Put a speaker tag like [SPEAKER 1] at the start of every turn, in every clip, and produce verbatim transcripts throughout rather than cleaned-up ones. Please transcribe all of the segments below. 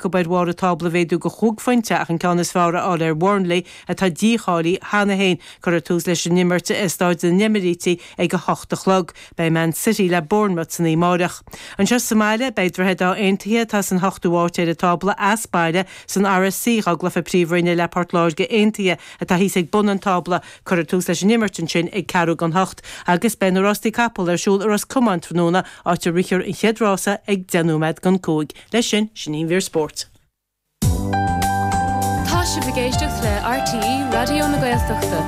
[SPEAKER 1] acu ar bharr an tábla a mhéadú go chúig phointe ach an ceann is fearr a fháil ar Bhurnley atá dícháilithe cheana féin. Cuirfear tús leis an imirt i Staid na nEimiríti ag a hocht a chlog. Beidh Man City le Bournemouth san oíche amárach. Anseo sa mbaile beidh Droichead Átha Aontaithe atá san hochtú háit ar an tábla as baile san RSC dhá gcluiche Príomhroinne le Port Láirge Aontaithe atá thíos ag bun an tábla. Cuirfear tús leis an imirt ansin ag ceathrú don hocht agus beidh na rástaí capall ar siúl i Ros Comáin tráthnóna áit a rithfear an chéad rása ag deich nóiméad don cúig. Leis sin sin í an mhír spóirt.
[SPEAKER 2] Tá sibh ag éisteacht le RTÉ Raidió na Gaeltachta.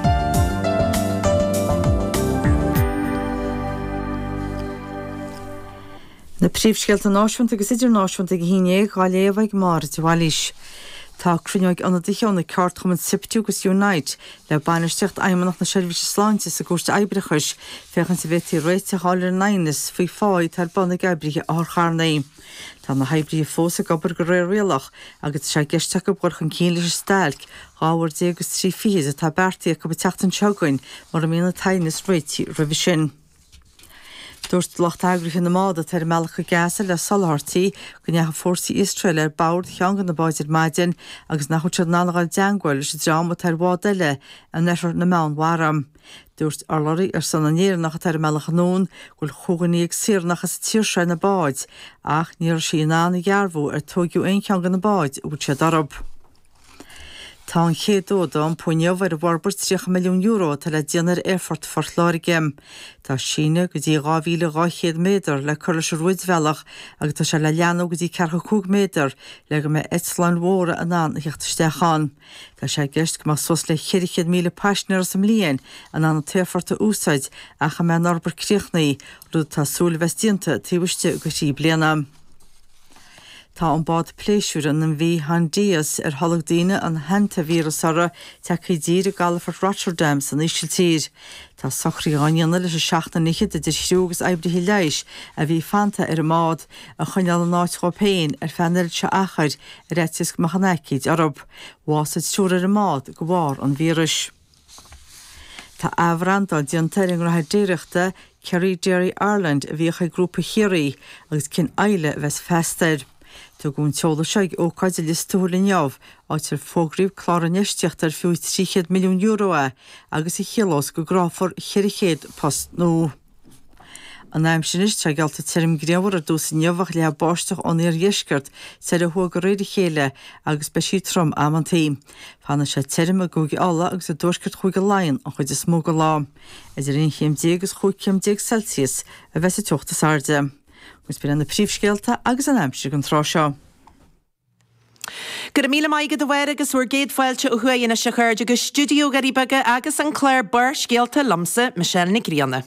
[SPEAKER 3] Na príomhscéalta náisiúnta agus idirnáisiúnta ag a haon déag á léamh ag Máire de Bhailís. Tá cruinniú ag ionadaithe ó na ceardchumainn Siptu agus Unite le bainistíocht Fheidhmeannacht na Seirbhíse Sláinte sa gCúirt Oibreachais féachaint an bhféadfaí réiteach a fháil ar an aighneas faoi phá atá ar bun ag oibrithe otharcharranna. Tá na hoibrithe fós ag obair de réir rialach agus tá sé i gceist acu dul chun cinn leis an stailc dhá uair déag agus trí fichid atá beartaithe acu an tseachtain seo chugainn mura mbíonn an t-aighneas réitithe roimhe sin. Dúirt lucht eagraithe na mbád atá ar a mbealach go Gaza le soláthairtí go ndeachaigh fórsaí Iosrael ar bord cheann de na báid ar maidin agus nach bhfuil siad in ann a dhul i dteangmháil leis an dream atá ar bhád eile in oirthear na Meánmhara. Dúirt urlabhraí ar son na nÉireannach atá ar a mbealach anonn go bhfuil chúig dhuine dhéag saoránach as an tír seo ar na báid ach ní raibh sí in ann a dhearbhú ar tóigeadh aon cheann de na báid a bhfuil siad orthu. Tá an chéad fhód á iompú inniu ar an bhforbairt tríocha milliún euro atá le déanamh ar Aerfort Phort Láirge. Tá síneadh go dtí dhá mhíle dhá chéad méadar le cur leis an rúidbhealach agus tá sé le leathnú go dtí ceathracha cúig méadar le go mbeidh eitleáin mhóra in ann a theacht isteach ann. Tá sé i gceist go mbeadh suas le ceithre chéad míle paisinéir sa mbliain in ann an t-aerfort a úsáid ach a mbeidh an fhorbairt críochnaithe, rud atá súil a bheas déanta taobh istigh de thrí bliana. Tá an bád pléisiúir an MV Hondius ar tholg daoine an hantavíreas uirthi tagtha i dtír i gcalafort Rotterdam san Ísiltír. Tá socruithe á ndéanamh leis an seachtar fhichead idir chriú agus oibrithe leighis a bhí fanta ar an mbád a choinneáil in áit dhóibh féin ar feadh an oiread seo achair ar fhaitíos go mbeadh an aicíd orthu. Bhásaigh triúr ar an mbád de bharr an víris. Tá athbhrandáil déanta ar an ngnóthaire déiríochta Kerry Dairy Ireland a bhíodh ag Grúpa Chiarraí agus cinn Islay a bheas feasta air. Tugadh an t-eolas seo ag ócáid i Lios Tuathail inniu, áit ar fógraíodh clár infheistíochta ar fiú trí chéad milliún euro é agus a chiallós go gcruthófar ceithre chéad post nua. An aimsir anois, tá geallta tirim grianmhar ar dtús inniu ach leathfaidh báisteach ón iardheisceart soir ó thuaidh de réir a chéile agus beidh sí trom amantaí. Fanfaidh sé tirim i gCúige Uladh agus i dtuaisceart Chúige Laighean an chuid is mó den lá. Idir aon chéim déag agus chúig chéim déag Celsius a bheas an teocht is airde. Agus b'in iad na príomhscéalta agus an aimsir don tráth seo.
[SPEAKER 4] Go raibh míle maith agat a Mháire agus bhur gcéad fáilte ó thuaidh anois a chairde go stiúideo Dhoirí Beaga agus an clár Barrscéalta liomsa, Michelle Nic Grianna.